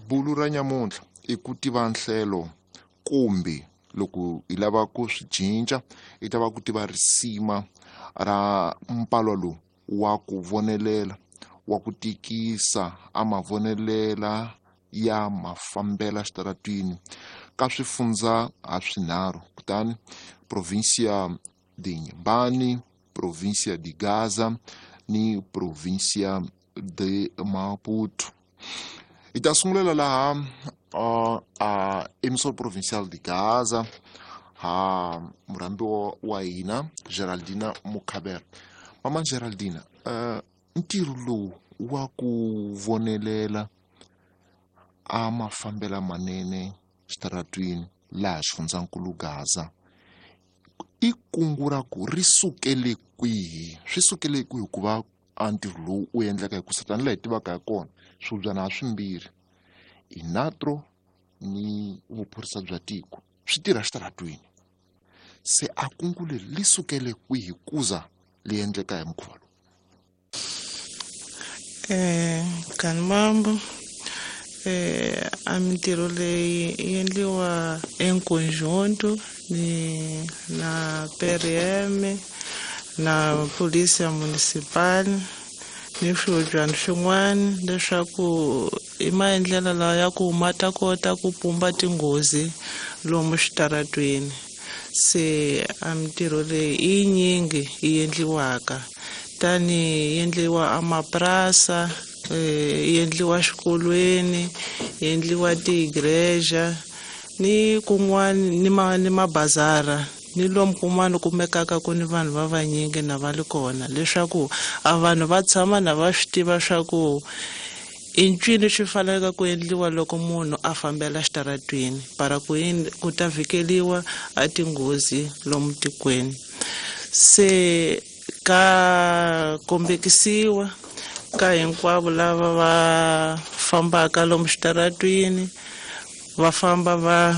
Bulu ra nyamuntlha i ku tiva nhlelo kumbe loko hi lava ku swi cinca i ta va ku tiva risima ra mpalwa lowu wa ku vonelela wa ku tikisa a mavonelela ya mafambela xitaratwini ka swifundza ha swinharhu kutani provincia de Inhambane, provincia de Gaza ni provincia de Maputo. Hi ta sungulela laha a emissor provincial de Gaza ha murhambiwa wa hina Geraldina Mukhabela. Mama Geraldina, ntirho lowu wa ku vonelela a mafambela manene xitaratwini laha xifundzankulu Gaza i kungu ra ku ri sukele kwihi swi sukele kwihi ku va a ntirho lowu u endleka hi ku tanihi laha hi tivaka hi kona swibyana ha swimbirhi inatro ni vuphorisa bya tiko swi tirha xitaratwini se a kungu leri li sukele kwihi kuza li endleka hi mukhuva lowu? Kanimambo a mintirho leyi yi endliwa enkonjonto ni na PRM na polisi ya municipal ni swihobyana swin'wana leswaku i maendlelo lawa ya ku ma ta kota ku pumba tinghozi lomu xitaratweni. Se a mintirho leyi i yinyingi yi endliwaka tani yi endliwa amapurasa, yi endliwa xikolweni, yi endliwa tiigreja ni kun'wana ni mabazara ni lomu kun'wana kumekaka ku ni vanhu va vanyingi na va li kona leswaku a vanhu va tshama na va swi tiva swa ku i ncini swi faneleke ku endliwa loko munhu a fambela xitaratwini para ku yini ku ta vhikeliwa a tinghozi lomu tikweni. Se ka kombekisiwa ka hinkwavo lava va fambaka lomu xitaratwini va famba va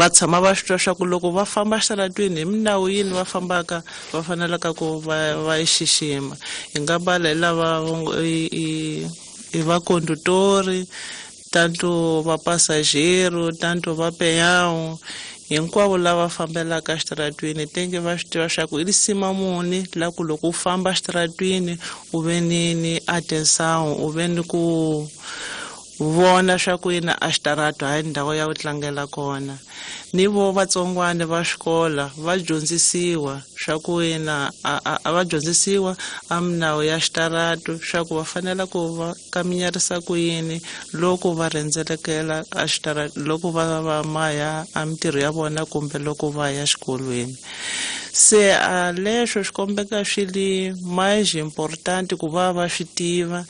tshama va swi twa swa ku loko va famba xitaratwini hi minawu yini va fambaka va fanelaka ku va yi xixima. Hi nga bala hi lava i va conductori, tanto va passageiro, tanto va peão, hinkwavo lava fambelaka xitaratwini tenge va swi tiva swa ku i risima muni la ku loko u famba xitaratwini u ve ni atenção, u ve ni ku vona swa ku yini a xitarato hayi ndhawu ya ku tlangela kona. Ni vo vatsongwana va xikola va dyondzisiwa swa ku yina a va dyondzisiwa a minawu ya xitarato swa ku va fanela ku va kaminyarisa ku yini loko va rhendzelekela a xitarato, loko va maya a mintirho ya vona kumbe loko va ya xikolweni. Se a leswo swi kombeka swi li mais important ku va va swi tiva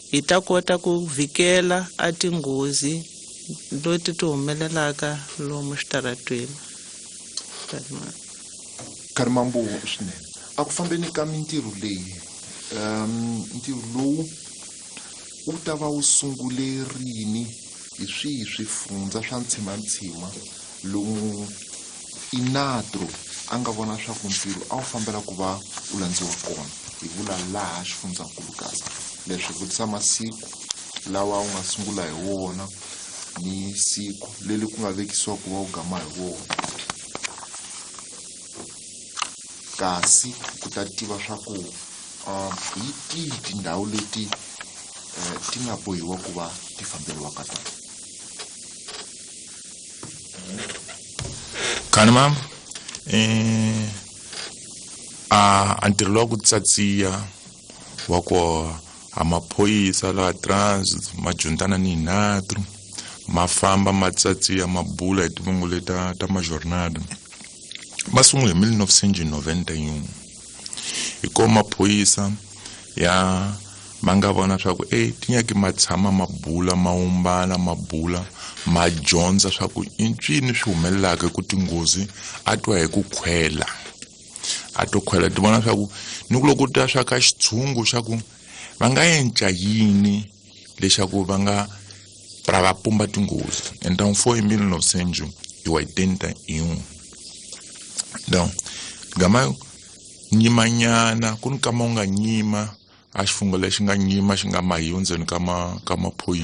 hi ta kota ku vhikela a tinghozi leti ti humelelaka lomu xitaratweni. Karimambo swinene a ku fambeni ka mintirho leyi, ntirho lowu wu ta va wu sungule rini hi swihi swifundza swa ntshimantsima lomu inatro a nga vona swa ku ntirho a wu fambela ku va wu landziwa kona hi vula laha xifundzankulu Gaza. Leswi vutisa masiku lawa wu nga sungula hi wona ni siku leri ku nga vekisiwa ku va wu gama hi wona, kasi ku ta tiva swa ku hi tihi tindhawu leti ti nga bohiwa ku va ti famberiwa ka tona. Khanima, a ntirho lowa ku tsatsiya wa ku a maphorisa laha trans ma juntana ni hinatru ma famba ma tsatsiya ma bula hi tivungu leta ta majornada ma sungule hi 1991 hi ko maphorisa ya ma nga vona swa ku tinyaki ma tshama ma bula ma umbana ma bula ma dyondza swa ku i ncini swi humelelaka ku tinghozi a twa hi ku khwela a to khwela ti vona swa ku ni ku loko ta swa ka xitshungu xa ku va nga enca yini leswaku va nga pra va pumba tinghozi. Então foi em 1981. Então gama nyimanyana ku ni kama u nga nyima a xifungo lexi nga nyima xi nga mahiwa ndzeni ka maphorisa.